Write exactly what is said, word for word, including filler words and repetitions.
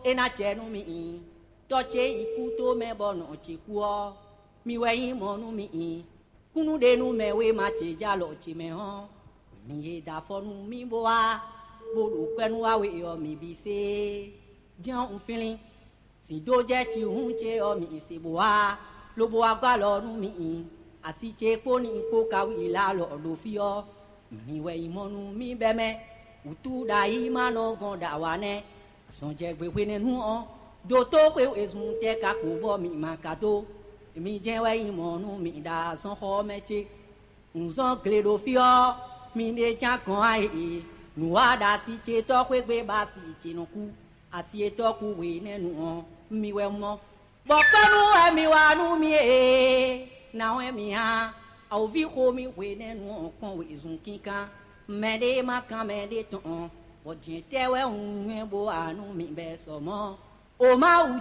É ná jɛ nú mi. Tɔ́ ce yi kú tó mɛ bɔ nɔ ce kú ɔ́, mi wɛ nyí mɔ̌ nú mi. Kúnnuɖenúmɛ wéma ce jɛ alɔ ce mɛ ɔ́, mi e da afɔ nú mì bó wá, bó ɖo kwɛ́ nú wa we ɔ́, mi bǐ se. Jɛ́n un flín. Sin dó jɛ cihún ce ɔ́, mi se bó wá, lobo wá gɔ́ alɔ nú mi. Asi ce kpó ní kpó ka wí lá alɔ ɖo fí ɔ́, mi wɛ nyí mɔ̌ nú mì bɛ́ mɛ. Wǔtú ɖo ayǐ ma nɔ gɔn ɖo awa nɛ́. Azɔn jɛ gbe hwenɛ́nu ɔ́, dotó xwe wezun tɛ́ ka kpo bɔ mi ma ka dó. Mi jɛ́n wɛ nyí mɔ̌ nú mi ɖo azɔnxɔ ɔ́ mɛ ce. Un zɔ́n gle ɖo fí ɔ́, mi ɖe ján gɔn ayǐ. Nǔ wa ɖo asi ce tɔ́ xwé gbe bɔ asi ce nɔ kú. Asi e tɔ́ kú hwenɛ́nu ɔ́, mi wɛ mɔ. Bɔ kpɔ́nú wɛ mi wa nú mì ee, nǎ wɛ mi hán. Awǒví xo mì hwenɛ́nu ɔ́ kpɔ́n wezun kínkán. Mɛɖé ma kán mɛɖé tɔn, bɔ jɛ̌n tɛ́ wɛ un nywɛ́ bó wa nú mi bɛ́ sɔ mɔ̌. O Mawu